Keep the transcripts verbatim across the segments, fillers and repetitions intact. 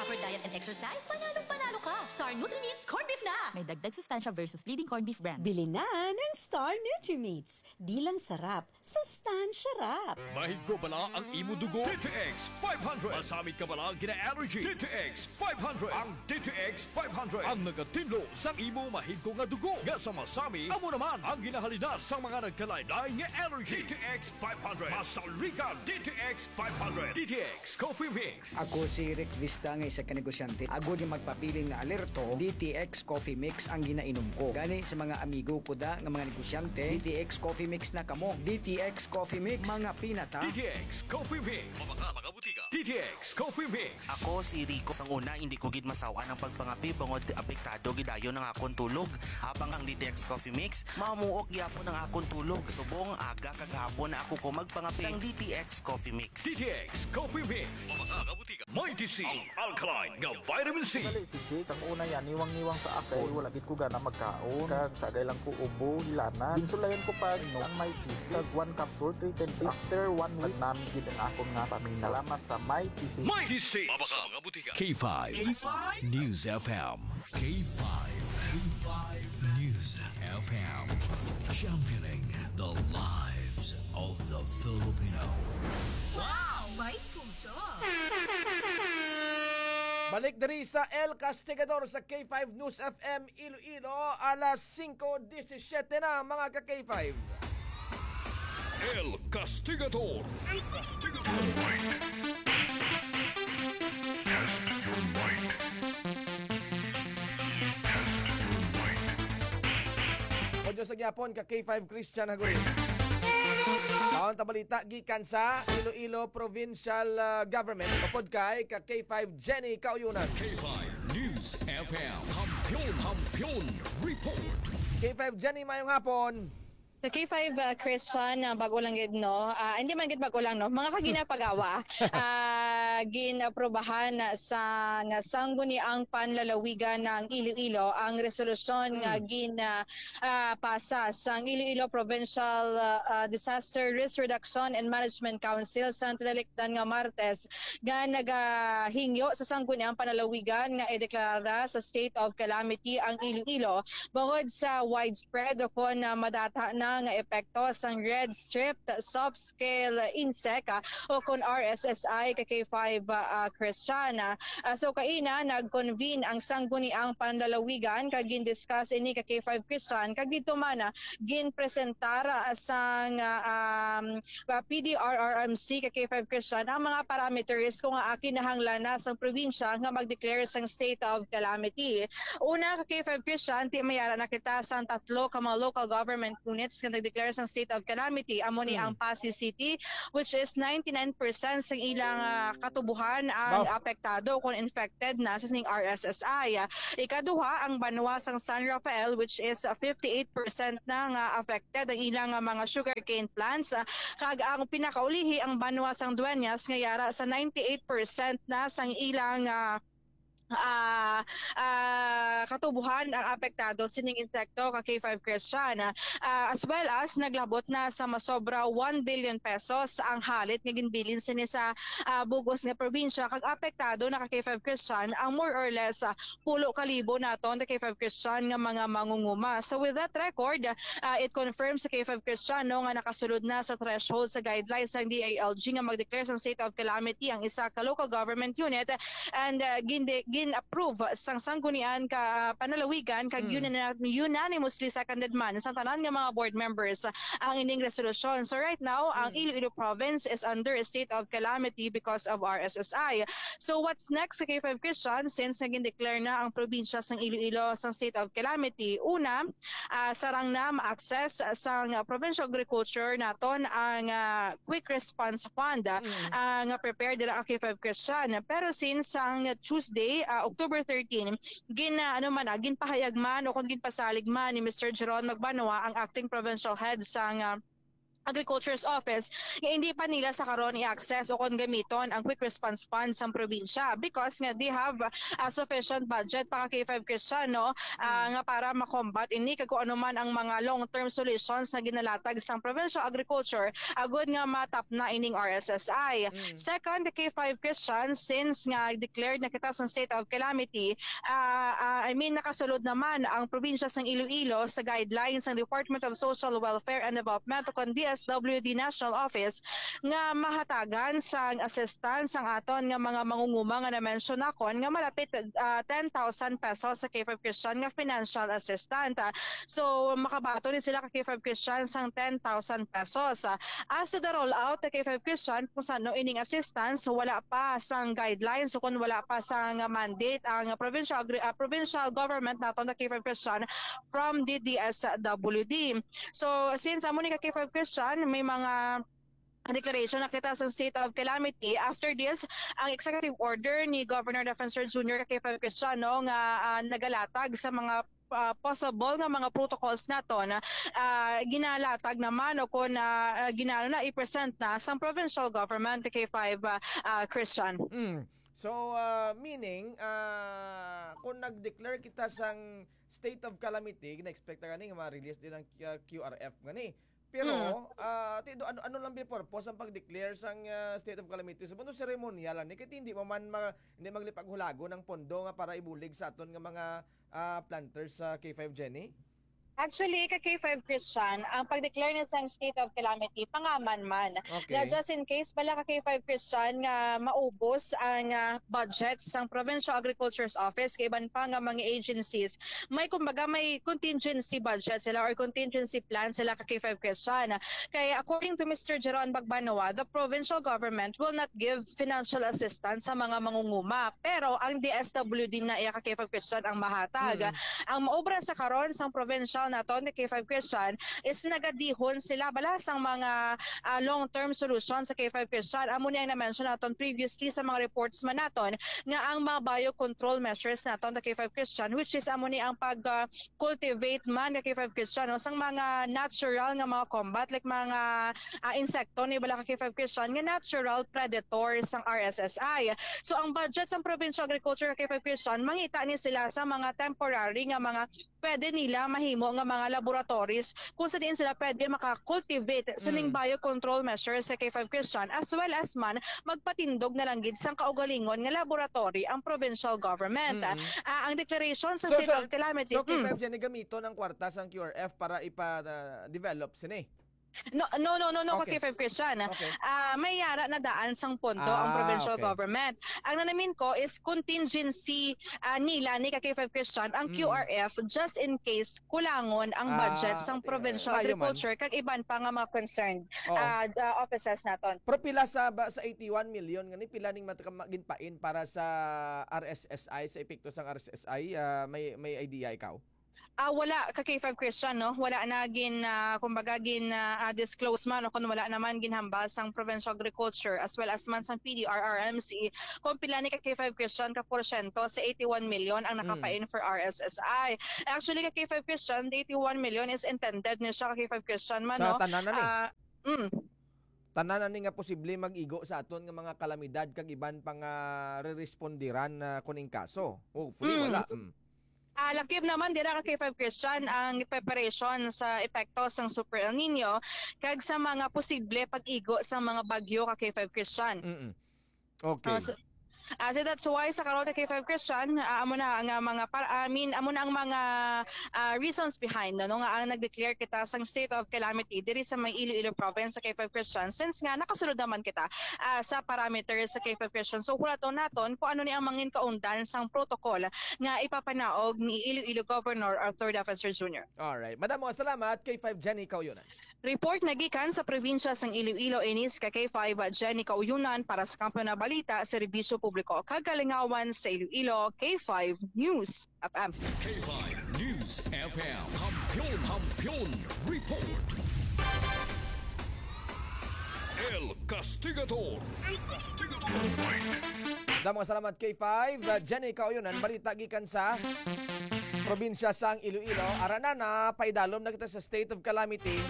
For diet and exercise, panalong panalo ka. Star Nutrimits Corn Beef na! May dagdag sustansya versus leading corn beef brand. Bili na ng Star Nutrimits. Di lang sarap, sustansya rap. Mahigko bala ang imo dugo? D T X five hundred. Masamit ka bala gina-allergy? D T X five hundred. Ang D T X five hundred ang nagatinlo sa imo mahigko nga dugo nga sa masami amo naman ang ginahalina sa mga nagkalain-lain nga allergy. D T X five hundred. Masaligan D T X five hundred. D T X Coffee Mix. Ako si Rick Vista nga isa ka negosyante. Agod nga magpabilin nga alerto, D T X Coffee Mix ang ginainom ko. Gani sa mga amigo ko da nga mga negosyante, D T X Coffee Mix na kamo. D T X Coffee Mix, mga pinata. D T X Coffee Mix. Mabaka, mga butika. D T X Coffee Mix. Ako si Rico. Sang una, hindi ko gid masawan ang pagpangape bangod apektado gid dayon ang akon tulog. Habang ang D T X Coffee Mix, mamuok gyapon ang akon tulog. Subong aga kag hapon na ako ko magpangape. Sang D T X Coffee Mix. D T X Coffee Mix. Mabaka, mga butika. Mighty C, ang alkaline nga vitamin C. Dali si Jake, sang una yan, niwang-niwang sa ako. Wala gid ko gana magkaon. Kag sagay lang ko ubo, hilanat. Ginsulayan ko pa, inom ang Mighty C. Kag one capsule, three times. After one week, nagnami gid ang akon nga pamina. Salamat sa Mighty C. Mighty C. Mabaka, mga butika. K five. K five News F M. K five. K five News F M. Championing the lives of the Filipino. Wow! May puso! Balik diri sa El Castigador sa K five News F M Iloilo, alas singko disisiete na, mga ka K five. El Castigador. El Castigador. Test your might. Test your might. Bonjour sa gyapon ka K five Christian Haguri. Taon ta balita gikan sa Iloilo Provincial, ah, Government, upod kay ka K five Jenny Kauyunan. K five News F M. Kampiyon, Kampiyon Report. K five Jenny, mayong hapon. Sa K five, uh, Christian, uh, bago lang gid, no? Ah, hindi man gid bago lang, no? Mga kaginapagawa, ah, ginaprobahan sa nga Sangguniang Panlalawigan ng Iloilo ang resolusyon nga gin, ah, ah, pasa sang Iloilo Provincial, ah, ah, Disaster Risk Reduction and Management Council sa tinalikdan nga Martes nga nagahingyo sa Sangguniang Panlalawigan nga ideklara sa state of calamity ang Iloilo bangod sa widespread o kon, ah, madata na nga epekto sang Red Strip Soft Scale Insect, ah, o kon R S S I ka K five, ah, Christian. Ah, so kaina nag-convene ang Sangguniang Panlalawigan kag gin-discuss ini ka K five Christian kag didto man, ah, ginpresentar, ah, sang, ah, um, ah, P D R R M C ka K five Christian ang mga parameters kung nga kinahanglan na sang probinsya nga mag-declare sang state of calamity. Una, ka K five Christian, ti may ara na kita sang tatlo ka mga local government units nga nag-declare sang state of calamity. Amo ni ang Passi City, which is ninety-nine percent sang ilang, ah, katubuhan ang apektado kon infected na sa sining R S S I. Ikaduha, ang banwa sang San Rafael, which is, ah, fifty-eight percent na nga affected ang ilang, ah, mga sugarcane plants. Ah, kag ang pinakaulihi, ang banwa sang Dueñas, nga yara sa ninety-eight percent na sang ilang, ah, ah, ah, katubuhan ang apektado sining insekto ka K five Christian. Ah, as well as naglabot na sa masobra one billion pesos ang halit nga ginbilin sini sa, ah, bug-os nga probinsya, kag apektado na ka K five Christian ang more or less, ah, pulo ka libo naton ka K five Christian nga mga mangunguma. So with that record, ah, it confirms sa K five Christian, no, nga nakasulod na sa threshold sa guidelines sang D I L G nga mag-declare sang state of calamity ang isa ka local government unit, and, ah, gin-, gin-approve sang Sanggunian ka Panlalawigan kag unani-, unanimously seconded man sa tanan nga mga board members ang ining resolusyon. So right now, ang Iloilo province is under a state of calamity because of R S S I. So what's next sa K five Christian, since naging declare na ang probinsya sang Iloilo sang state of calamity? Una, ah, sarang na ma-access sang Provincial Agriculture naton ang, ah, Quick Response Fund, ah, ah, nga prepared dira ang K five Christian. Pero since ang Tuesday, ah, October thirteen, gin, ah, ano man, ah, ginpahayag man o kung ginpasalig man ni Mister Jeron Magbanwa, ang acting provincial head sang, ah, Agriculture's Office nga hindi pa nila sa karon i-access o kon gamiton ang Quick Response Fund sang probinsya because nga they have a sufficient budget pa ka K five Christian, no, ah, nga para ma-combat ini kag kung ano man ang mga long-term solutions nga ginalatag sang Provincial Agriculture agud nga matapna ining R S S I. Second, K five Christian, since nga declared na kita sa state of calamity, ah, ah, I mean, nakasulod naman ang probinsya sang Iloilo sa guidelines sang Department of Social Welfare and Development o kon D S W D National Office nga mahatagan sang assistance ang aton nga mga mangunguma nga na-mention nakon nga malapit, ah, ten thousand pesos sa K five Christian nga financial assistance. So, makabaton ni sila ka K five Christian sang ten thousand pesos. Ah, as to the rollout ka K five Christian, kung sano ining assistance, wala pa sang guidelines o kung wala pa sang mandate ang provincial agri-, ah, provincial government naton na K five Christian from the D S W D. So, since amo ni ka K five Christian, may mga declaration na kita sa state of calamity. After this, ang executive order ni Governor Defensor Junior ka K five Christian, no, nga, ah, nagalatag sa mga, ah, possible nga mga protocols naton, ah, ginalatag naman o kung, ah, ah, ginano na i-present na sa provincial government ka K five, ah, ah, Christian. Mm. So, ah, meaning, ah, kung nag-declare kita sang state of calamity, na-expect na gani nga ma-release din ang, ah, Q R F gani. Pero, Mm. ah, ti-, do-, ano, ano lang ba yung purpose ang pag-declare sang, ah, state of calamity? Sa mundo, ceremonial lang ni, kay hindi mo man ma-, hindi maglipaghulagon ang pondo nga para ibulig sa aton nga mga, ah, planters sa K five, Jenny? Actually, ka K five Christian, ang pag-declare ni sang state of calamity, pangaman man. Okay. Nga just in case, bala ka K five Christian nga maubos ang, ah, budget sang Provincial Agriculture's Office, kay iban pa nga mga agencies, may, kumbaga, may contingency budget sila or contingency plan sila ka K five Christian. Kay according to Mister Jeron Bagbanoa, the provincial government will not give financial assistance sa mga mangunguma. Pero ang D S W D na iya ka K five Christian ang mahatag. Mm. Ang maobra sa karon sang provincial naton ni K five Christian is nagadihon sila bala sang mga, ah, long-term solution sa K five Christian. Amo ni ang na-mention naton previously sa mga reports man naton nga ang mga biocontrol measures naton sa K five Christian, which is amo ni ang pag, ah, cultivate man ka K five Christian, no, sang mga natural nga mga combat, like mga, ah, insekto ni bala ka K five Christian nga natural predator sang R S S I. So ang budget sang Provincial Agriculture ka K five Christian, mangita ni sila sa mga temporary nga mga pwede nila mahimo nga mga laboratories kung sa diin sila pwede maka-cultivate sining Mm. biocontrol measures sa K five Christian, as well as man magpatindog na lang gid sang kaugalingon nga laboratory ang provincial government. Mm. Ah, ang declaration sa So, state so, of calamity. So, K five Mm. Jenny, gamiton ang kwarta sang Q R F para ipa-develop sini? No, no, no, no, no, Okay. ka K five Christian. Okay. Ah, may yara na daan sang pondo ang Ah, provincial okay. government. Ang nanamin ko is contingency, ah, nila ni ka K five Christian ang Mm. Q R F just in case kulangon ang Ah, budget sang okay. Provincial Maayo man. Agriculture kag iban pa nga mga concerned, Oo. ah, ah, offices naton. Pero pila sa ba, sa eighty-one million nga ni, pila ning mata-, ma-, ginpain para sa R S S I, sa epekto sang R S S I? Ah, may, may idea ikaw? Ah, wala ka K five Christian, no? Wala na gin, ah, kumbaga, gin, ah, ah, disclose man o kung wala naman ginhambal sang Provincial Agriculture as well as man sang P D R R M C kung pila ni ka K five Christian ka porsyento sa eighty-one million ang Mm. nakapain for R S S I. Actually, ka K five Christian, the eighty-one million is intended ni siya ka K five Christian man, Sa no? tanan na ni? Ah, mm. Tanan na ni nga posible mag-igo sa aton nga mga kalamidad kag iban pa nga re-respondiran na kuning kaso. Hopefully, Mm. wala. Mm. Ah, lakip naman dira ka K five Christian ang preparation sa epekto sang Super El Nino kag sa mga posible pag-igo sa mga bagyo ka K five Christian. Mm-mm. Okay. Ah, so, ah, so that's why sa karon ka K five Christian, ah, amo na nga mga par-, I mean, amo na ang mga, ah, reasons behind, ano, nga ang nag-declare kita sang state of calamity diri sa may Iloilo province sa K five Christian, since nga nakasulod naman kita, ah, sa parameters sa K five Christian. So, hulaton naton kung ano ni ang mangin kaundan sang protocol nga ipapanaog ni Iloilo Governor Arthur Defensor Junior. Alright. Madamo nga salamat, K five Jenny Kauyonan. Report nagikan sa probinsya sang Iloilo, inis ka K five Jenny Kauyonan para sa Kampiyon na Balita, Serbisyo Publiko kag Kalingawan sa Iloilo, K five News F M. K five News F M. Kampiyon, Kampiyon Report. El Castigador. El Castigador. Damo nga salamat, K five. Uh, Jenny Kauyonan, balita gikan sa probinsya sang Iloilo. Ara na, napaidalom na kita sa state of calamity.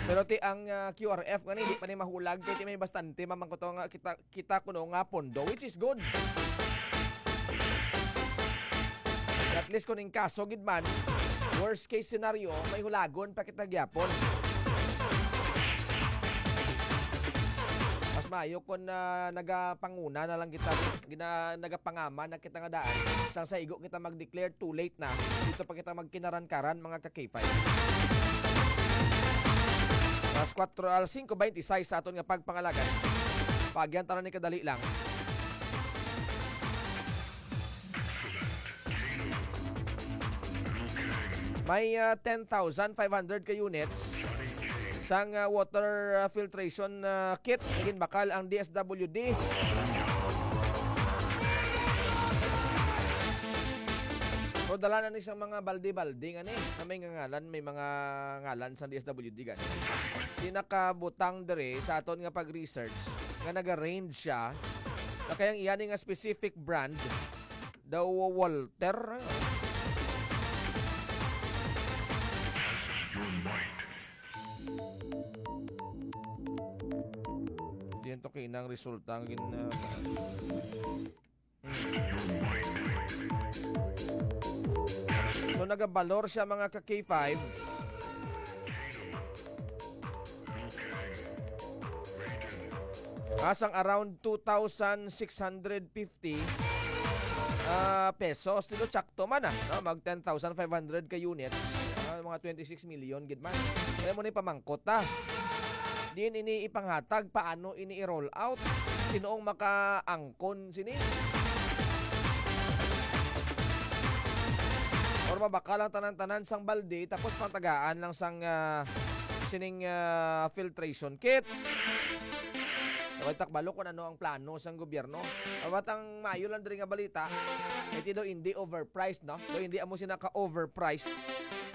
Pero ti ang, ah, Q R F nga ni, di pa ni mahulag, kay ti may bastante mamangkuto nga kita, kita kuno nga pondo, which is good. At least kung in kaso gid man, worst case scenario, may hulagon pa kita gyapon. Mas maayo kung, ah, nagapanguna na lang kita, gina-, nagapangama na kita nga daan. Sang sa igo kita mag-declare, too late na. Dito pa kita magkinaran-karan, mga ka-K five. Alas kwatro, alas singko beintiseis sa aton nga pagpangalagan. Paagyan ta na ni kadali lang. May, ah, ten thousand five hundred ka units sang, ah, water, ah, filtration, ah, kit nga ginbakal ang D S W D. So, dala na ni sang mga balde-balde nga ni, nga may nga ngalan, may mga ngalan sang D S W D gani. Di nakabutang diri sa aton nga pag-research nga naga-range siya na kayang iya ni nga specific brand daw, Walter. Diyan to kinang resulta ang gin-, uh, so, nagabalor siya, mga ka-K five. Asang around two thousand six hundred fifty, ah, pesos. Dito, tsakto man, ah, no? Mag ten thousand five hundred ka units. Ah, mga twenty-six million gid man. Kaya mo ni pamangkot, ah. Diin ini ipanghatag? Paano ini i-roll out? Sino ang makaangkon sini? Or mabakal ang tanan-tanan sang balde, tapos patagaan lang sang, ah, sining, ah, filtration kit. Dapat takbalo kung ano ang plano sang gobyerno. Dapat ang maayo lang diri nga balita, iti daw hindi overpriced, no? Daw hindi amo sina ka-overpriced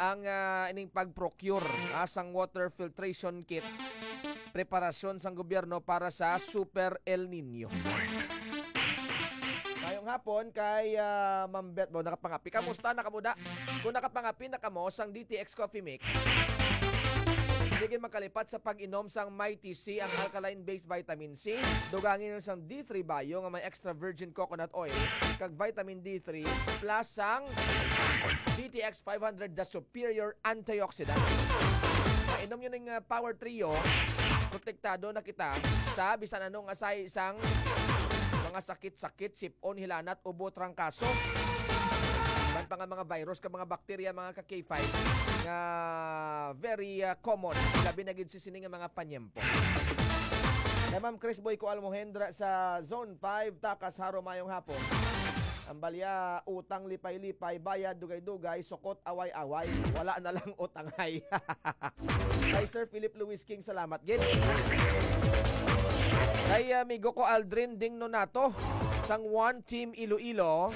ang, ah, ining pag-procure, ah, sang water filtration kit, preparasyon sang gobyerno para sa Super El Nino. Mayong hapon kay, ah, Ma'am Beth Bo, nakapangapi. Kamusta na kamo da? Kung nakapangapi na kamo sang D T X Coffee Mix, hindi gid makalipat sa pag-inom sang Mighty C, ang alkaline-based vitamin C. Dugangi na sang D three Bio nga may extra virgin coconut oil kag vitamin D three plus sang D T X five hundred, the superior antioxidant. Mainom yun ng, uh, Power Trio, protektado na kita sa bisan ano nga sahi sang mga sakit-sakit, sip-on, hilanat, ubo, trangkaso. Man pa nga mga virus ka mga bakterya, mga ka-K five, nga very, uh, common, labi na gid sa sini nga mga panyempo. Kay Ma'am Chris Boy ko Almohendra sa Zone five, Takas, Jaro, mayong hapon. Ang balya, utang lipay-lipay, bayad dugay-dugay, sukot away-away. Wala na lang utangay. Kay Sir Philip Luis King, salamat gid. Kay amigo ko Aldrin Ding Nonato, sang One Team Iloilo.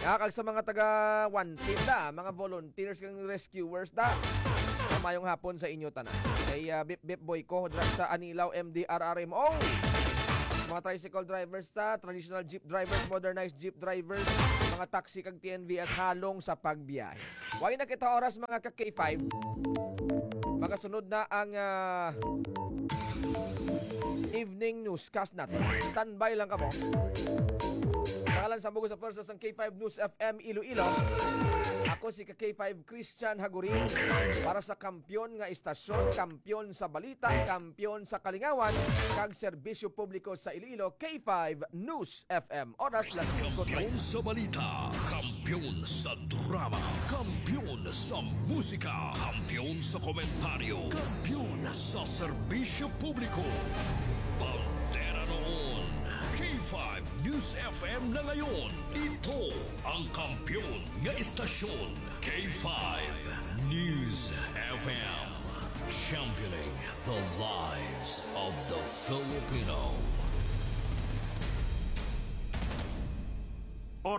Ya, kag sa mga taga One Team da, mga volunteers kag rescuers da. Mayong hapon sa inyo tanan. Kay, ah, Bip Bip Boy ko dra sa Anilao M D R R M O. Mga tricycle drivers ta, traditional jeep drivers, modernized jeep drivers, mga taxi kag T N V S halong sa pagbiyahe. Way na kita oras, mga ka K five. Magasunod na ang, ah, evening newscast natin. Standby lang kamo. Pangalan sa Bugo sa Pwersa sang K five News F M Iloilo. Ako si ka K five Christian Hagurin para sa kampiyon nga istasyon, kampiyon sa balita, kampiyon sa kalingawan, kag serbisyo publiko sa Iloilo, K five News F M. Oras las singko treinta. Kampiyon sa balita, kampiyon sa drama, kampiyon sa musika, kampiyon sa komentaryo, kampiyon sa serbisyo publiko. Bandera noon, K five News F M na ngayon. Ito ang kampiyon nga istasyon, K five News F M. Championing the lives of the Filipino.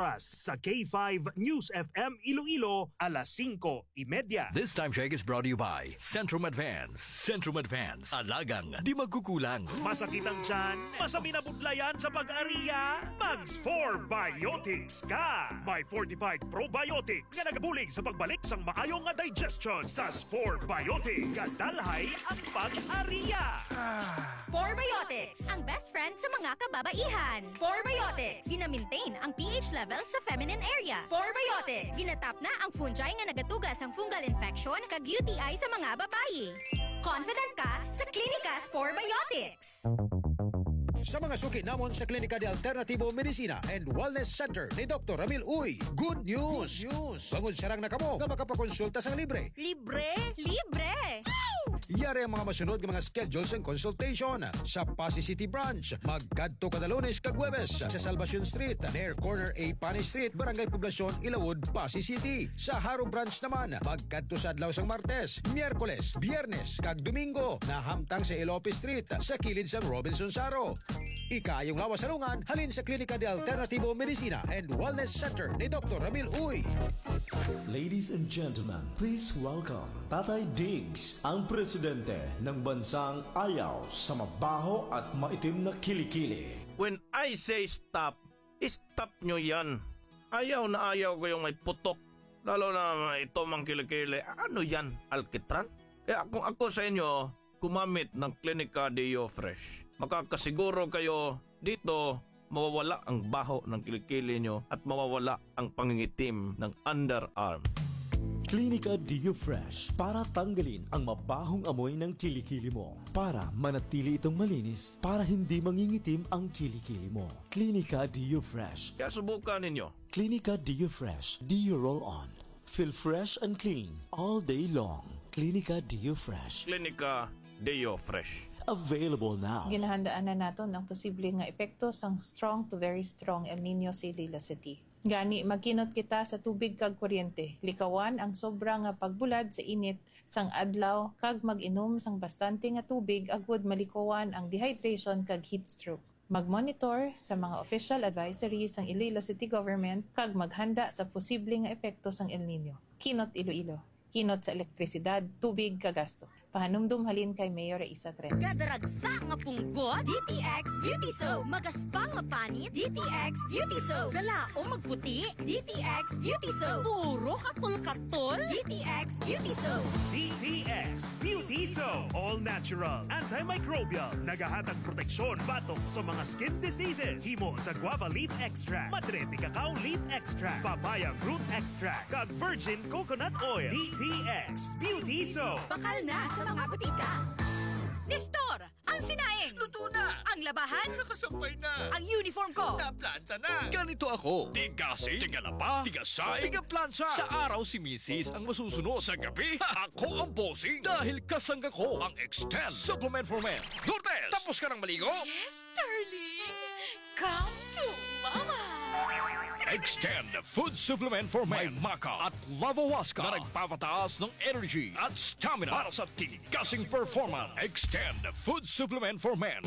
Sa K five News F M Iloilo, alas singko y media. This time check is brought to you by Centrum Advance. Centrum Advance. Alagang di magkukulang. Masakit ang tiyan? Masabi na budlayan sa pag-ariya? Mag Spore Biotics ka! May fortified probiotics nga nagabulig sa pagbalik sang maayo nga digestion sa Spore Biotics. Kadalhay ang pag-ariya! Spore Biotics, ang best friend sa mga kababaihan. Spore Biotics, gina-maintain ang P H level sa feminine area. Spore Biotics, ginatap na ang fungi nga nagatuga sang fungal infection kag U T I sa mga babayi. Confident ka sa Klinika Spore Biotics. Sa mga suki namon sa Klinika de Alternativo Medicina and Wellness Center ni Doktor Ramil Uy, good news! Good news! Bangod sarang na kamo nga makapakonsulta sang libre. Libre? Libre! Yari ang mga masunod nga mga schedule sang consultation. Sa Passi City Branch, magkadto kada Lunes kag Huwebes sa Salvacion Street, near corner A Pani Street, Barangay Poblacion, Ilawod, Passi City. Sa Jaro Branch naman, magkadto sa adlaw sang Martes, Miyerkules, Biyernes, kag Domingo, nahamtang sa Elope Street, sa kilid sang Robinson Jaro. Ikaayong lawas sa lungan, halin sa Klinika de Alternativo Medicina and Wellness Center ni Doktor Ramil Uy. Ladies and gentlemen, please welcome Tatay Diggs, ang presidente ng bansang ayaw sa mabaho at maitim na kilikili. When I say stop, stop nyo yan. Ayaw na ayaw ko yung may putok. Lalo na ito mang kilikili. Ano yan? Alkitran? Kaya kung ako sa inyo, gumamit ng Klinika Deo Fresh. Makakasiguro kayo dito mawawala ang baho ng kilikili nyo at mawawala ang pangingitim ng underarm. Klinika Deo Fresh para tanggalin ang mabahong amoy ng kilikili mo. Para manatili itong malinis, para hindi mangingitim ang kilikili mo. Klinika Deo Fresh. Kaya subukan ninyo. Klinika Deo Fresh Deo Roll On. Feel fresh and clean all day long. Klinika Deo Fresh. Klinika Deo Fresh. Available now. Ginahandaan na naton ang posible nga epekto sang strong to very strong El Nino sa Iloilo City. Gani, magkinot kita sa tubig kag kuryente. Likawan ang sobra nga pagbulad sa init sang adlaw kag mag-inom sang bastante nga tubig agud malikawan ang dehydration kag heat stroke. Mag-monitor sa mga official advisories sang Iloilo City Government kag maghanda sa posible nga epekto sang El Nino. Kinot Iloilo. Kinot sa elektrisidad, tubig, kag gasto. Pahanumdom halin kay Mayor Raisa Trenes. Kadaragsa nga punggot, D T X Beauty Soap. Magaspang nga panit, D T X Beauty Soap. Galaom magputi, D T X Beauty Soap. Puro katol-katol, D T X Beauty Soap. D T X Beauty Soap. All natural, antimicrobial. Nagahatag proteksyon batok sa mga skin diseases. Himo sa guava leaf extract, madre de cacao leaf extract, papaya fruit extract, kag virgin coconut oil. D T X Beauty Soap. Bakal na sa mga butika. Nestor, ang sinaing. Luto na. Ang labahan. Nakasampay na. Ang uniform ko. Naplanta na. Ganito ako. Tigasing, tigalaba, tigasay, tigaplansa. Sa araw si misis ang masusunod. Sa gabi, ako ang bossing. Dahil kasangga ko ang Extend Supplement for Men. Lourdes, tapos ka nang maligo? Yes, darling. Come to Mama. Extend Food Supplement for Men. May maca at lavawaska na nagpapataas ng energy at stamina para sa tigasing performance. Extend Food Supplement for Men.